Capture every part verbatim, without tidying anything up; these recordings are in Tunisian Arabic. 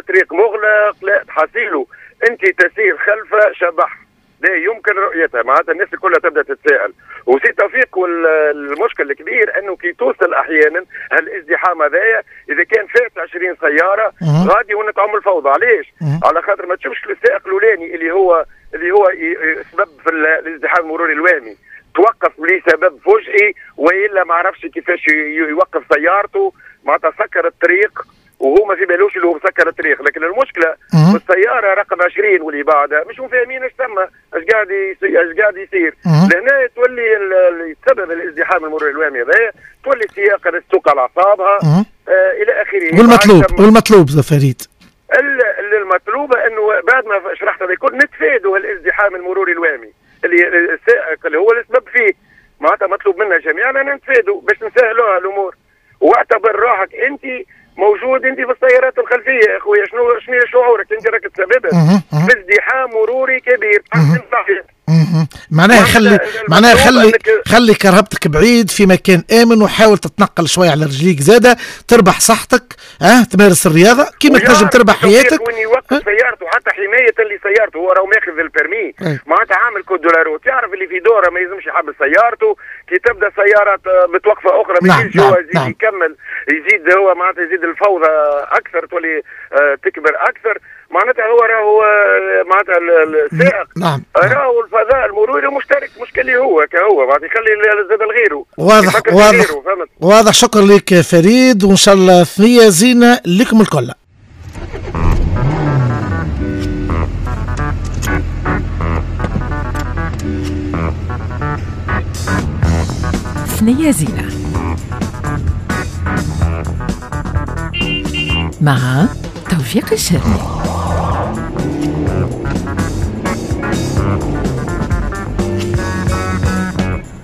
طريق مغلق، لا تحصيله انت تسير خلف شبح لا يمكن رؤيتها. معناتها الناس كلها تبدا تتساءل. وسي توفيق والمشكل الكبير انه كي توصل احيانا هالازدحام هذايا اذا كان فات عشرين سيارة غادي ونتعم الفوضى. علاش؟ على خاطر ما تشوفش السائق الاولاني اللي هو اللي هو سبب في الازدحام المروري الوهمي، توقف لسبب فجئي والا ما عرفش كيفاش يوقف سيارته، معناتها سكر الطريق وهو ما في بالوش اللي هو مسكر الطريق. لكن المشكلة في السيارة رقم عشرين واللي بعدها مش فاهمين ايش ثم، اش قاعد يصير، اش قاعد يصير. لهنا تولي سبب الازدحام المروري الوهمي هذايا، تولي السياقه تسوق على اعصابها آه الى اخره. والمطلوب والمطلوب فريد المطلوب انه بعد ما شرحت هذا الكل نتفادوا الازدحام المروري الوهمي اللي السائق اللي هو السبب فيه. معناتها مطلوب منا جميعا ان نتفادوا باش نسهلوها الامور. واعتبر روحك انت موجود انت في السيارات الخلفية يا اخويا، شنو شنو شعورك انت؟ راك تسببت في ازدحام مروري كبير. معناها خلي معناها خلي خلي كرهبتك بعيد في مكان امن، وحاول تتنقل شوية على رجليك زاده، تربح صحتك، اه تمارس الرياضة كيما تنجم تربح حياتك. وين يوقف سيارته حتى حماية لسيارته، هو راهو ماخذ ال permis، معناتها عامل code de la route، يعرف اللي في دوره ما يلزمش يحبس سيارته، كي تبدا سيارة متوقفه اخرى ما يجيش هو يزيد نعم. يكمل يزيد هو معناتها يزيد الفوضى اكثر، تولي آه تكبر اكثر. معناتها هو راهو معناتها السائق نعم. راهو الفضاء المروري مشترك، مش اللي هو كهو معناتها يخلي زاد لغيره. واضح واضح واضح. شكرا لك فريد، وان شاء الله ثنيه زينة لكم الكل. ثنيه زينة مع توفيق الشرمي.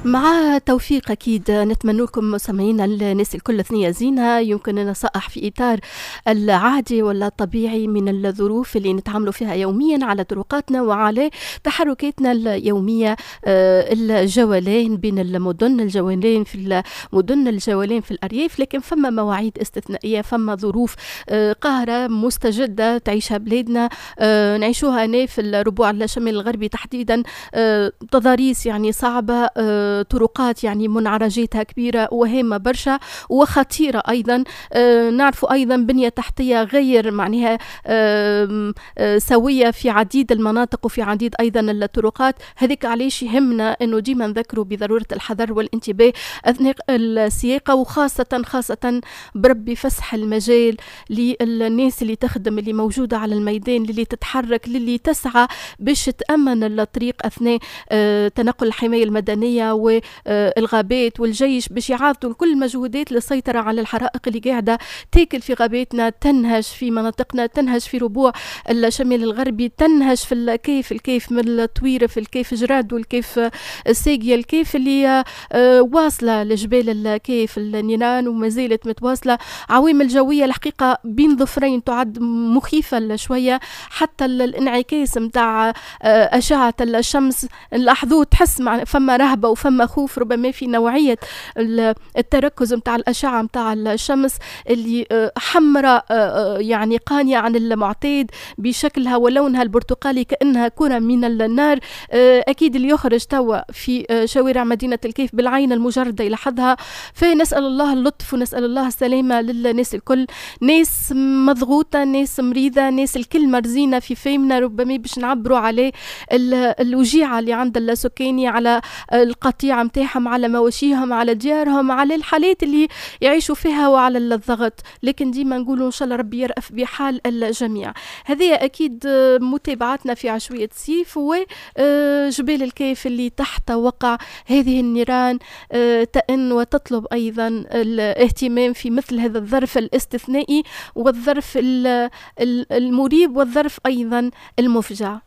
مع توفيق أكيد نتمنى لكم مستمعينا الناس الكل ثنية زينة. يمكن نصائح في إطار العادي ولا الطبيعي من الظروف اللي نتعاملوا فيها يوميا على طرقاتنا وعلى تحركاتنا اليومية، الجولان بين المدن، الجولان في المدن، الجولان في الأرياف. لكن فما مواعيد استثنائية، فما ظروف قاهرة مستجدة تعيشها بلادنا، نعيشوها هنا في الربوع الشمال الغربي تحديدا، تضاريس يعني صعبة، طرقات يعني منعرجاتها كبيرة وهامة برشا وخطيرة أيضا. آه نعرف أيضا بنية تحتية غير معناها آه آه سوية في عديد المناطق وفي عديد أيضا الطرقات. هذيك علاش يهمنا أنه ديما نذكروا بضرورة الحذر والانتباه أثناء السياقة، وخاصة خاصة بربي فسح المجال للناس اللي تخدم، اللي موجودة على الميدان، اللي تتحرك، اللي تسعى باش تأمن الطريق أثناء آه تنقل الحماية المدنية والغابات والجيش، باش يعاضوا كل المجهودات للسيطرة على الحرائق اللي قاعدة تاكل في غاباتنا، تنهش في مناطقنا، تنهش في ربوع الشمال الغربي، تنهش في الكيف، الكيف من الطويرة، في الكيف جراد والكيف الساقية، الكيف اللي واصلة لجبال الكيف النيران وما زالت متواصلة. عوامل جوية الحقيقة بين ظفرين تعد مخيفة شوية، حتى الانعكاس متاع أشعة الشمس نلاحظوه، تحس مع فما رهبة وفما خوف ربما في نوعية التركز متاع الأشعة متاع الشمس اللي حمراء يعني قانية عن المعتاد بشكلها ولونها البرتقالي كأنها كرة من النار. أكيد اللي يخرج توا في شوارع مدينة الكيف بالعين المجردة يلاحظها. فنسأل الله اللطف ونسأل الله السلامة للناس الكل، ناس مضغوطة، ناس مريضة، ناس الكل مرزينة في فهمنا ربما باش نعبروا عليه الوجيعة اللي عند السكاني، على القطيعة متاعهم، على مواشيهم، على ديارهم، على الحالات اللي يعيشوا فيها وعلى الضغط. لكن ديما نقولوا إن شاء الله ربي يرأف بحال الجميع. هذه أكيد متابعتنا في عشوية سيف وجبال الكيف اللي تحت وقع هذه النيران تأن وتطلب أيضا الاهتمام في مثل هذا الظرف الاستثنائي والظرف المريب والظرف أيضا المفجع.